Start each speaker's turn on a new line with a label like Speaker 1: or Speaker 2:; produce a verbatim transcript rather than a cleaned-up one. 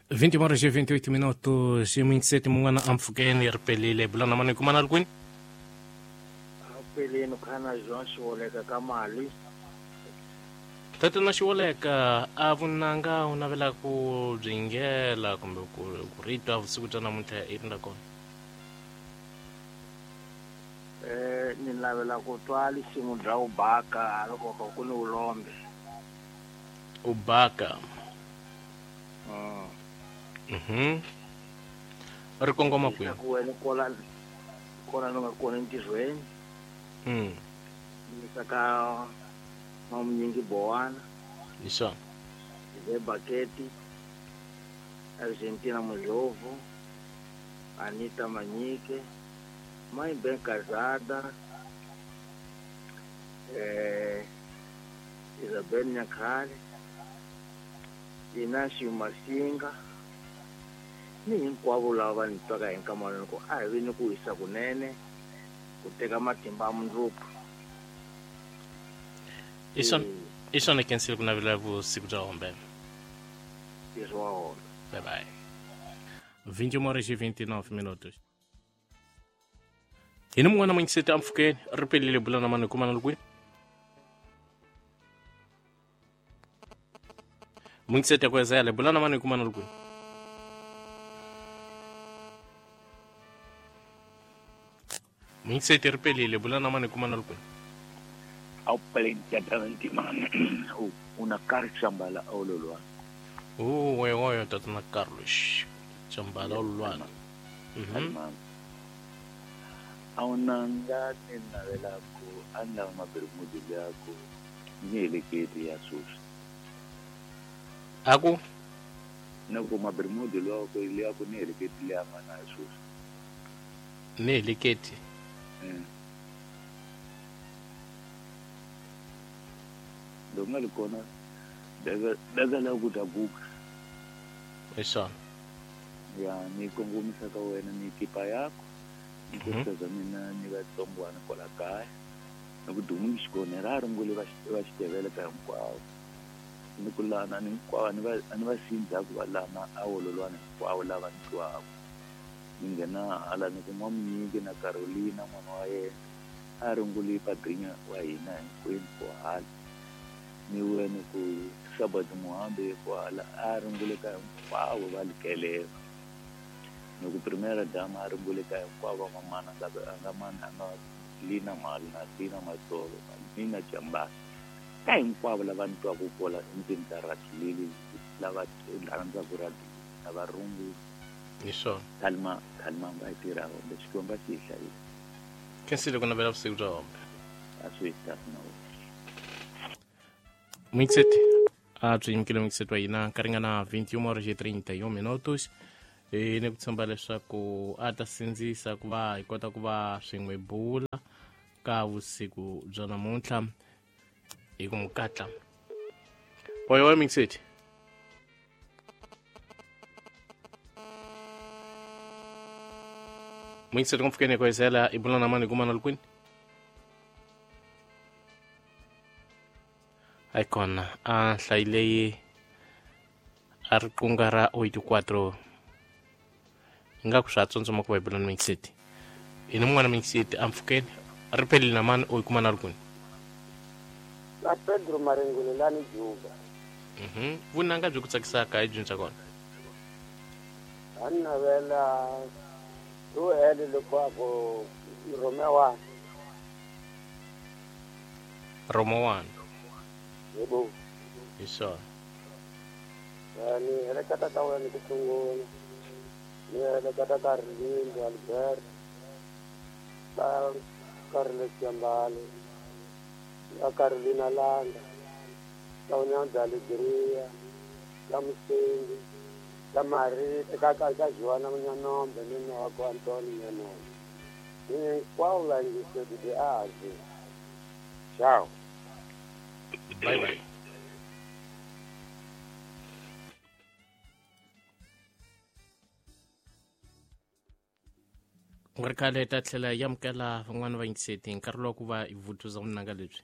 Speaker 1: vinte horas e vinte e oito minutos e vinte e sete mun'wana ampfhukeni ri pelile bulana mani kumana ri kwini
Speaker 2: peleni khana João Xiwoleka ka mali
Speaker 1: tatana Xiwoleka a vunanga u navela ku byi kumbe ku ku ri twa vusiku bya namuntlha i ri kona
Speaker 2: eh ni navela ku twa lisimu bya ubaka loko ku ni ulombe
Speaker 1: ubaka
Speaker 2: mm
Speaker 1: mhm ri kongoma kwihi
Speaker 2: ku wena kola kona no nga kona entirhweni
Speaker 1: mm
Speaker 2: ni saka mamunyingi bowana
Speaker 1: isha
Speaker 2: le baketi Argentina Mujovo Anita Manyike Mãe bem casada eh Isabel Nyakhale Inácio Masinga ni hinkwavo lava va ni twaka hi nkamano ku a hi vi ni ku wisa kunene ku teka matimba ya mundzuku
Speaker 1: i swona i swona kensile ku navela vusiku bya hombe
Speaker 2: ntirho wa hombe
Speaker 1: bye bye vinte e uma horas e vinte e nove minutos hi ni mun'wana mungiseti ampfhukeni ri pelile bulana mani kumana ri kwini mungiseti ya kwezele bulana mani kumana ri kwini mungiseti ri pelile bulana mani kumana ri kwini
Speaker 3: au peleni man una Carlos Chambala ololwa
Speaker 1: oh oyo oyo tatana Carlos Chambala ololwana mhm
Speaker 3: awunanga ni navela ku anda mabermudu yako ni eleketi ya susu
Speaker 1: aku
Speaker 3: nako mabermudu lwako ile yako ni eleketi ya mana susu
Speaker 1: ni eleketi
Speaker 3: eh donga likona daga daga la kutabuka
Speaker 1: esa
Speaker 3: ya ni kongomisa ka wena ni kipa yako nikusaza mina ni vatsongwana kwala kaya ni ku dumu xikone ra rungule va va xitevele ka hinkwavo ni ku lana ni hinkwavo ni va ni va sindza ku va lana a wololwana hinkwavo lava ni twaku ni nghena hala ni ku n'wamunyingi na Carolina n'wana wa yena a rungule padrinha wa hina hinkwenu ku hala ni wena ku Sabbath Muhambe ku hala a rungule ka hinkwavo va likeleva ni ku primera dama a rungule ka hinkwavo mamana nga nga mana a nga lina mali na lina matsolo nina Chambala ka hinkwavo lava ni twaku kola endzeni ka radio leli lava rhandzaka radio lava rungula
Speaker 1: hi swona
Speaker 3: khalima khalima nga tirha hombe Xikwembu xi hi hlayisa
Speaker 1: kensile ku navela vusiku bya hombe
Speaker 3: a swi kahle na wena
Speaker 1: Mixet a byi yimukile mixet wa hina ka ringana vinte e uma horas e trinta e um minutos e ni ku tshemba leswaku a ta sindzisa ku va hi kota ku va swin'we bula ka vusiku bya namuntlha hi ku n'wi katla oyo wa mixet mixet kumfukeni kwezela i bula na mani kumana lukwini aikona a nhlayi leyi a ri qunga ra oito quatro ingaku swa tsundzuma ku va hi bula ni mixet hi ni mun'wana mixet ampfhukeni ri pelile na mani o yi kuma na ri kwini
Speaker 4: na Pedro Marengulelani Juba
Speaker 1: mhm vunanga byi ku tsakisaka hi dyondza kona
Speaker 4: a ni navela to hele loko Romeo
Speaker 1: Romo one
Speaker 4: yebo
Speaker 1: hi swona
Speaker 4: ni heleketa ka wena ku sungula ni heleketa ka Rilindo Albert ka Carlos Chambala ka Carolina Langa ka Unyanda Alegria ka Musengi ka Marita ka ka ka Joana Munyanombe ni nwa wa Antonio Munyanombe hinkwavo va yingiseli de azi ciao
Speaker 1: bye bye ku nga ri khale hi ta tlhela hi amukela van'wani va yingiseti hi nkarhi lowa ku va hi vutuza vunanga lebyi.